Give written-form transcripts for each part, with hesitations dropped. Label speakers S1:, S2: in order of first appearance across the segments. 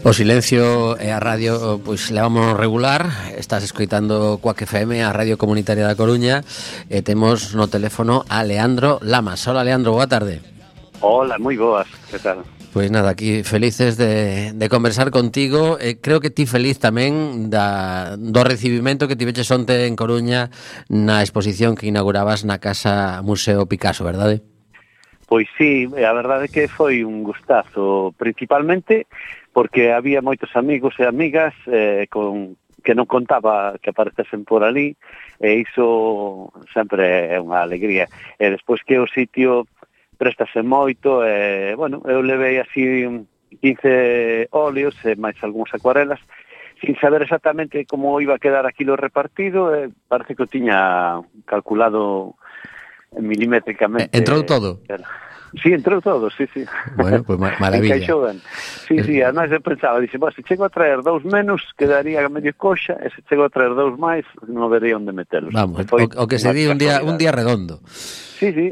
S1: O silencio e a radio, pois levamos regular. Estás escoitando Cuac FM, a Radio Comunitaria da Coruña, e temos no teléfono a Leandro Lamas. Hola, Leandro, boa tarde.
S2: Hola, moi boas, que tal?
S1: Pois nada, aquí felices de conversar contigo. Creo que ti feliz tamén do recibimento que tiveches onte en Coruña na exposición que inaugurabas na Casa Museo Picasso, verdade?
S2: Pois sí, a verdade é que foi un gustazo, principalmente porque había moitos amigos e amigas que non contaba que aparecesen por ali, e iso sempre é unha alegría. E despois que o sitio préstase moito, bueno, eu levei así 15 óleos e máis algúns acuarelas, sin saber exactamente como iba a quedar aquilo repartido, parece que o tiña calculado milimétricamente.
S1: Entrou todo?
S2: Sí, entrou todo, sí.
S1: Bueno, pues maravilla.
S2: Encaixou ben. Sí, además eu pensaba, dixe, se chego a traer 2 menos, quedaría medio coxa, e se chego a traer 2 máis, non vería onde metelos.
S1: Vamos, o que se di un día redondo.
S2: Sí.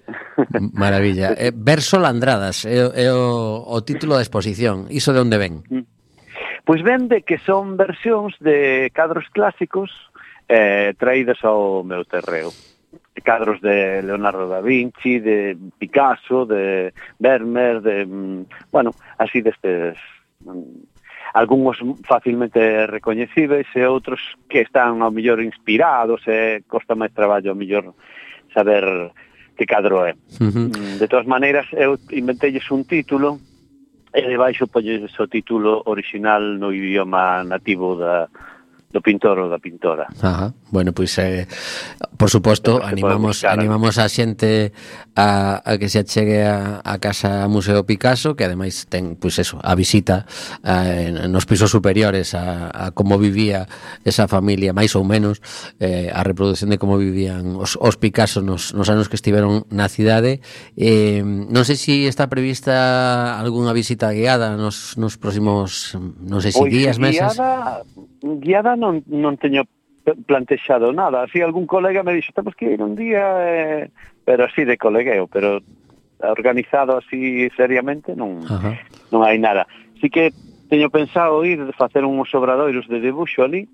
S1: Maravilla. Verso Landradas é o título da exposición. Iso de onde ven?
S2: Pois ven de que son versións de cadros clásicos traídos ao meu terreo. Cadros de Leonardo da Vinci, de Picasso, de Vermeer, bueno, así destes, algúns facilmente recoñecibles e outros que están ao mellor inspirados e costa máis traballo ao mellor saber que cadro é. De todas maneiras, eu inventelles un título e debaixo poñes o título original no idioma nativo do pintor ou da pintora.
S1: Ajá. Bueno, pois por suposto, animamos a xente a que se achegue a Casa Museo Picasso, que ademais ten, pois eso, a visita nos pisos superiores a como vivía esa familia, máis ou menos, a reproducción de como vivían os Picasso nos anos que estiveron na cidade. Non sei se está prevista algunha visita guiada nos próximos, non sei se días, meses.
S2: Guiada non teño plantexado nada. Así algún colega me dixo, temos que ir un día, pero así de colegueo, pero organizado así seriamente non hai nada. Así que teño pensado ir facer uns obradoiros de debuxo ali,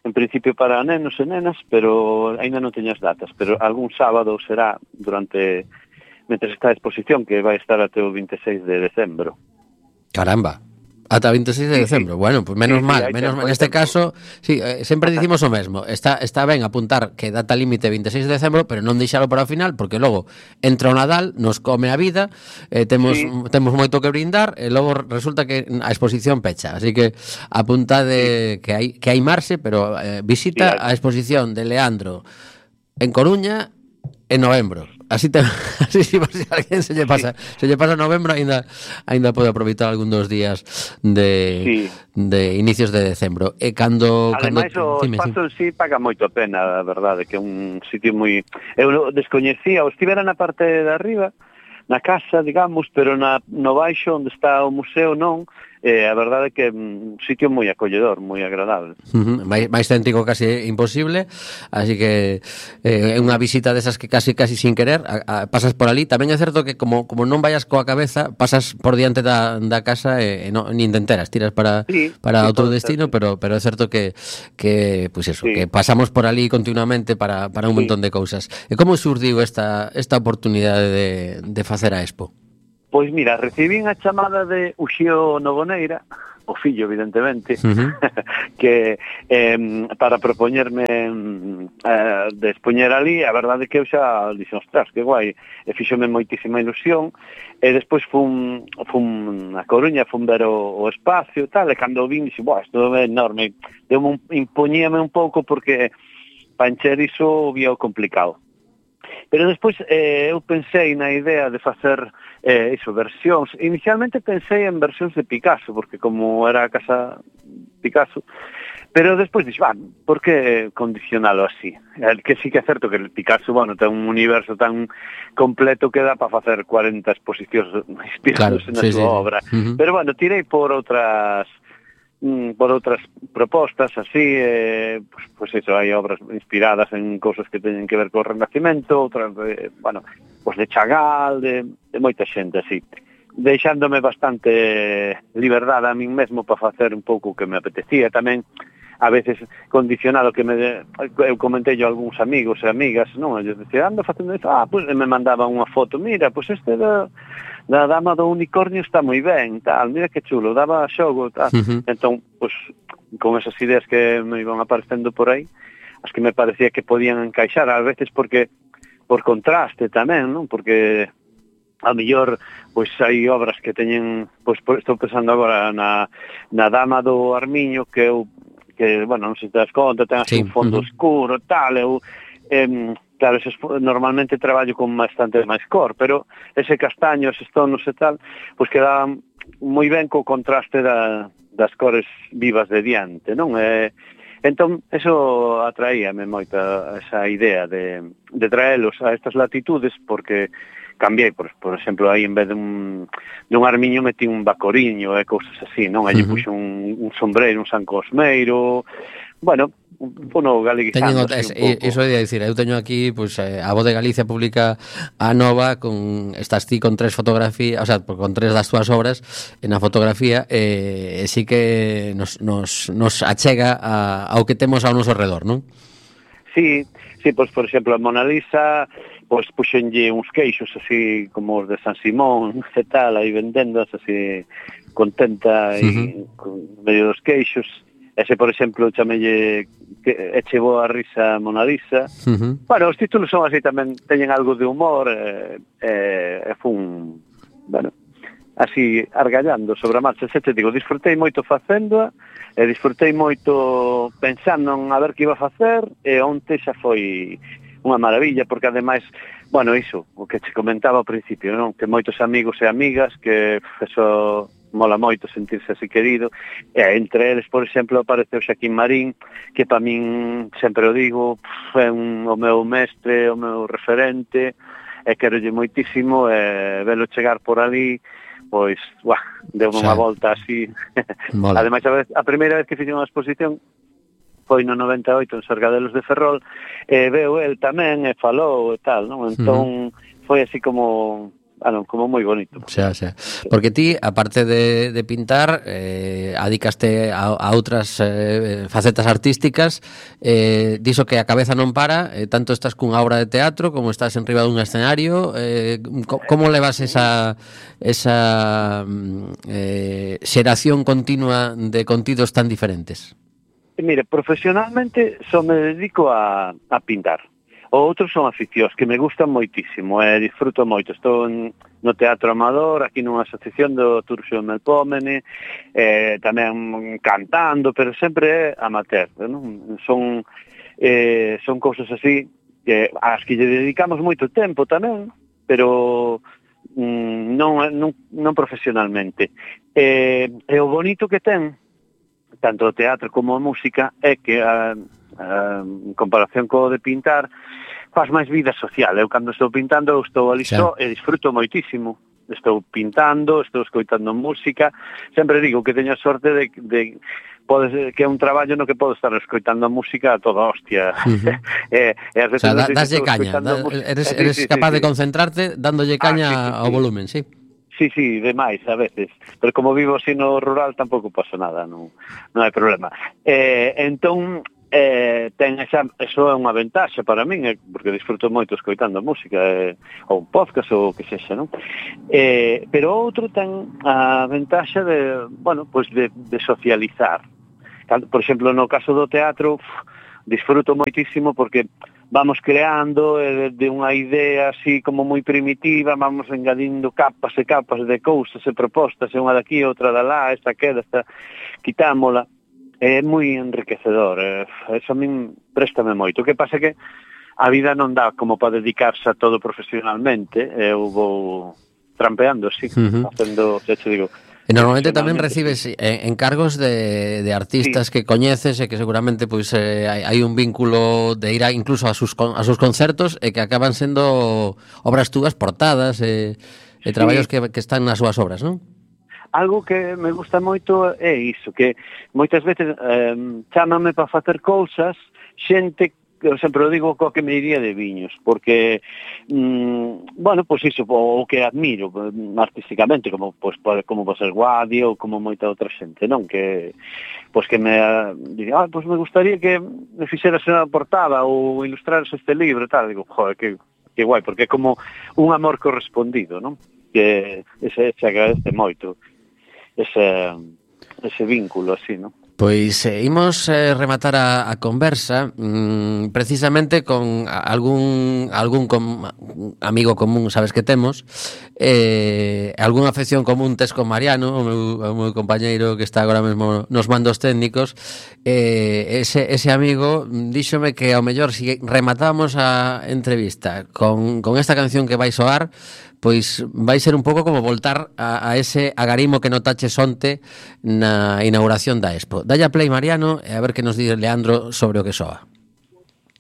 S2: en principio para nenos e nenas, pero ainda non teño as datas, pero algún sábado será mentre está a exposición, que vai estar até o 26 de decembro.
S1: Caramba! Ata 26 de decembro. Bueno, pues menos mal. Neste caso, sí, sempre dicimos o mesmo. Está ben apuntar que data límite 26 de decembro, pero non deixalo para o final, porque logo entra o Nadal, nos come a vida, temos moito que brindar, e logo resulta que a exposición pecha. Así que apuntade que hai marxe, pero visita a exposición de Leandro en Coruña en novembro. Así si alguén se lle pasa novembro, aínda pode aproveitar algún dos días de inicios de decembro. E
S2: ademais o espazo en sí paga moito a pena, a verdade, que é un sitio moi... Eu descoñecía, estivera na parte de arriba, na casa, digamos, pero no baixo onde está o museo non. A verdade é que é un sitio moi acolledor, moi agradable.
S1: Máis céntrico casi imposible, así que é unha visita desas que casi sin querer pasas por ali. Tamén é certo que como non vayas coa cabeza, pasas por diante da casa e nin te enteras, tiras para outro destino, pero é certo que pois eso, que pasamos por ali continuamente para un montón de cousas. E como surdiu esta oportunidade de facer a expo?
S2: Pois mira, recibín a chamada de Uxío Nogoneira, o fillo, evidentemente, que para propoñerme de expoñer ali. A verdade é que eu xa dixen, ostras, que guai, e fíxome moitísima ilusión, e despois fun a Coruña, fun ver o espacio e tal, e cando vin, dixen, isto é enorme, impoñíame un pouco porque para encher iso vía complicado. Pero despois eu pensei na idea de facer versións. Inicialmente pensei en versións de Picasso, porque como era a casa Picasso, pero despois dixo, por que condicionalo así? Que sí que é certo que el Picasso, ten un universo tan completo que dá para facer 40 exposicións inspirados na súa obra. Pero tirei por outras propostas así, pues eso, hai obras inspiradas en cousas que teñen que ver co Renacimento, outras de Chagall, de moita xente así. deixándome bastante liberdade a min mesmo para facer un pouco o que me apetecía. Tamén, a veces, condicionado que eu comentei yo a algúns amigos e amigas, non? Eu decía, ando facendo isto, pois me mandaban unha foto, mira, pois este da Dama do Unicornio está moi ben, tal, mira que chulo, daba xogo, tal. Entón, pois, con esas ideas que me iban aparecendo por aí, as que me parecía que podían encaixar, a veces porque, por contraste tamén, non? Porque a mellor, pois hai obras que teñen, pois estou pensando agora na Dama do Armiño, que bueno, non sei se te das conta, ten así un fondo oscuro, tal, claro, normalmente traballo con bastante máis cor, pero ese castaño, eses tonos e tal, pois queda moi ben co contraste das cores vivas de diante, non? Entón, eso atraíame moito esa idea de traelos a estas latitudes, porque cambiei, por exemplo, aí en vez dun armiño metí un bacoriño e cousas así, non? Aí puxo un sombreiro, un san cosmeiro, bueno, galeguizando así un pouco.
S1: Iso é dicir, eu teño aquí, pois, a Voz de Galicia publica a nova, estás ti con 3 fotografías, o sea, con 3 das túas obras na fotografía, e sí que nos achega ao que temos ao noso redor, non?
S2: Sí, pois, por exemplo, a Mona Lisa, pois puxenlle uns queixos así como os de San Simón e tal, aí vendendas así contenta e con medio dos queixos. Ese, por exemplo, chamelle Eche boa risa Mona Lisa. Bueno, os títulos son así tamén, teñen algo de humor, fun, bueno, así argallando sobre a marcha. Se te digo, disfrutei moito facéndoa, e disfrutei moito pensando en a ver que iba a facer, e onte xa foi unha maravilla, porque ademais, bueno, iso, o que te comentaba ao principio, non? Que moitos amigos e amigas, que eso mola moito sentirse así querido, e entre eles, por exemplo, apareceu Xaquín Marín, que para min, sempre o digo, é o meu mestre, o meu referente, e querolle moitísimo, e velo chegar por ali, pois, deu unha volta así. Ademais, a primeira vez que fixe unha exposición foi no 98 en Sargadelos de Ferrol, e veu el tamén, e falou e tal, non? Entón, foi así como moi bonito.
S1: Xa. Porque ti, aparte de pintar, adicaste a outras facetas artísticas, diso que a cabeza non para, tanto estás cunha obra de teatro como estás en riba dun escenario, como levas esa xeración continua de contidos tan diferentes?
S2: Mire, profesionalmente só me dedico a pintar. O outros son aficións que me gustan moitísimo, disfruto moito. Estou no Teatro Amador, aquí nunha asociación do Turxo Melpómene, tamén cantando, pero sempre amateur, non? Son cousas así ás que lle dedicamos moito tempo tamén, pero non profesionalmente. E o bonito que ten tanto o teatro como a música é que en comparación co de pintar faz máis vida social. Eu cando estou pintando estou ali só e disfruto moitísimo. Estou pintando, estou escoitando música. Sempre digo que teño a sorte de que é un traballo no que podo estar escoitando a música a toda hostia.
S1: O sea, daslle caña, eres capaz de concentrarte dándolle caña ao volumen, sí.
S2: Sí, demais a veces, pero como vivo así no rural tampouco pasa nada, non hai problema. Entón, ten eso é unha ventaxa para min, porque disfruto moito escoitando música, ou un podcast ou o que sexa, non? Pero outro ten a ventaxa de, bueno, pues de socializar. Por exemplo, no caso do teatro, disfruto moitísimo porque vamos creando de unha idea así como moi primitiva, vamos engadindo capas e capas de cousas e propostas, unha daqui, outra da lá, esta queda, esta quitámola. É moi enriquecedor, eso a min préstame moito. O que pasa que a vida non dá como para dedicarse a todo profesionalmente, eu vou trampeando, sí, facendo, xa te digo.
S1: E normalmente tamén recibes encargos de artistas que coñeces e que seguramente pois hai un vínculo de ir incluso a sus concertos e que acaban sendo obras túas portadas e traballos que están nas súas obras, non?
S2: Algo que me gusta moito é iso, que moitas veces chámame para facer cousas xente eu sempre o digo co que me iría de viños, porque bueno, pois iso, o que admiro artísticamente, como pois como pode ser Guadi ou como moita outra xente, non? Que pois que me diría, pois me gustaría que me fixeras unha portada ou ilustraras este libro e tal, digo, joder, que guai, porque é como un amor correspondido, non? Que se agradece moito ese vínculo así, non?
S1: Pois imos rematar a conversa precisamente con algún amigo común, sabes que temos, algunha afección común tes con Mariano, o meu compañeiro que está agora mesmo nos mandos técnicos. Ese amigo díxome que ao mellor si rematábamos a entrevista con esta canción que vai soar, pois vai ser un pouco como voltar a ese agarimo que notaches onte na inauguración da Expo. Dalle a play, Mariano, e a ver que nos di Leandro sobre o que soa.